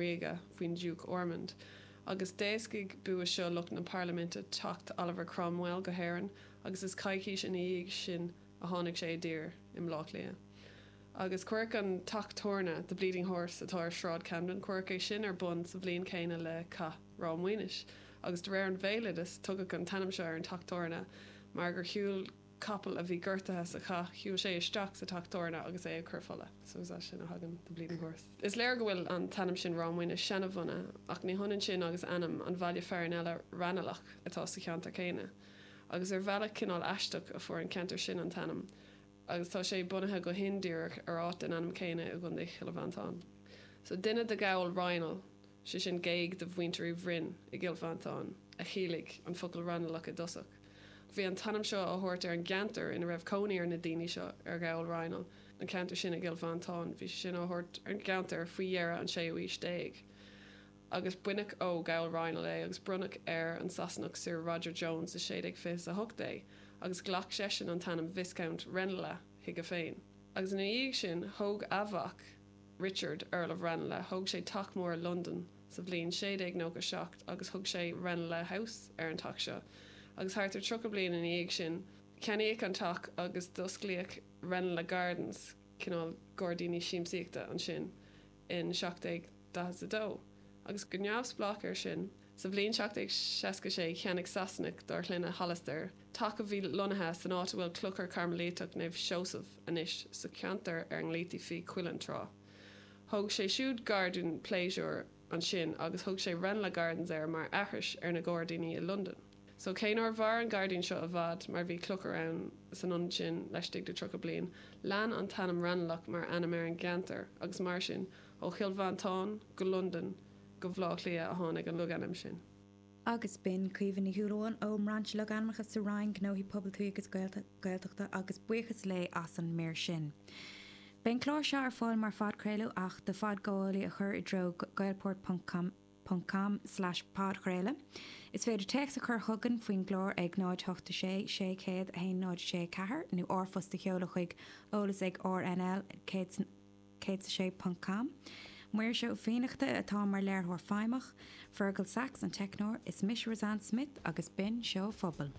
Ríoga faoin Diúc Ormond. Agus d'éascaigh bua seo lucht na Parlaiminte teacht Oliver Cromwell go hÉirinn agus is coicís ina dhiaidh sin a tháinig sé i dtír i mBleá Cliath. Agus cuireadh an teach tabhairne, The Bleeding Horse, atá ar Shráid Camden, cuireadh é sin ar bun sa bhliain chéanna le Cath Ráth Maonais. Agus de réir an bhéaloidis, tugadh an t-ainm seo ar an teach tabhairne mar gur shiúil capall a bhí gortaithe sa chath, shiúil sé isteach sa teach tabhairne agus é ag cur fola. So is as sin a thagann The Bleeding Horse. Is léir go bhfuil an t-ainm sin Ráth Maonais seanabhunaithe, ach ní hionann sin agus ainm an bhaile fearainn eile, Raghnallach, atá sa cheantar céanna. Agus ar bhealach cineál aisteach a fuair an ceantar sin an t-ainm, agus tá sé bunaithe go hindíreach ar áit den ainm céanna i gContae Chill Mhantáin. So duine de Ghabhal Raghnaill, sé sin géag de mhuintir Uí Bhroin i gCill Mhantáin, a chiallaigh an focal Raghnallach i dtosach. Bhí an t-ainm seo á thabhairt ar an gceantar ina raibh cónaí ar na daoine seo, ar Ghabhal Raghnaill, an ceantar sin i gCill Mhantáin, bhí sé sin á thabhairt ar an gceantar faoi dheireadh an séú haois déag. Agus baineadh ó Ghabhal Raghnaill é agus bronnadh ar an Sasanach Sir Roger Jones i 1628 é agus ghlac seisean an t-ainm Viscount Ranelagh chuige féin. Agus ina dhiaidh sin, thóg a mhac, Richard, Earl of Ranelagh, thóg sé teach mór i Londain sa bhliain 1697 agus thug sé Ranelagh House ar an teach seo. Agus thart ar 30 bliain ina dhiaidh sin, ceannaíodh an teach agus d'osclaíodh Ranelagh Gardens, cineál gairdíní siamsaíochta, ansin in 1742. Agus go neamhspleách air sin, sa bhliain 1766 cheannaigh Sasanach dar shloinne Hollister teach a bhí lonnaithe san áit a bhfuil Clochar Cairmilíteach Naomh Seosamh anois, sa cheantar ar a nglaoití Fiodh Cuilinn tráth. Thóg sé siúd gairdín pléisiúir ansin agus thug sé Ranelagh Gardens air mar aithris ar na gairdíní i Londain. So cé nár mhair an gairdín seo i bhfad mar bhí clochar ann san ionad sin laistigh de 30 bliain, lean an t-ainm Raghnallach mar ainm ar an gceantar agus mar sin, ó Chill Mhantáin go Londain go Bhleá Cliath a tháinig an logainm sin. Agus b'in Caoimhe Ní Shúilleabháin ón mBrainse Logainmneacha sa Roinn Gnóthaí Pobail Tuaithe agus Gaeltachta agus buíochas léi as an mír sin. Beidh an clár seo ar fáil mar phodchraoladh ach do phodghabhálaí a chur i dtreo gaelport ponc com ponc com slash podchraoladh. Is féidir téacs a chur chugainn faoin gclár ag 0 8 6 600 1 0 6 4 nó r-phost a sheoladh chuig eolas ag rnl 106 ponc com. Muiris Ó Fiannachta atá mar léiritheoir feidhmeach, Fergal Sachs an teicneoir, is mise Roseanne Smith agus b'in Seó Phobail.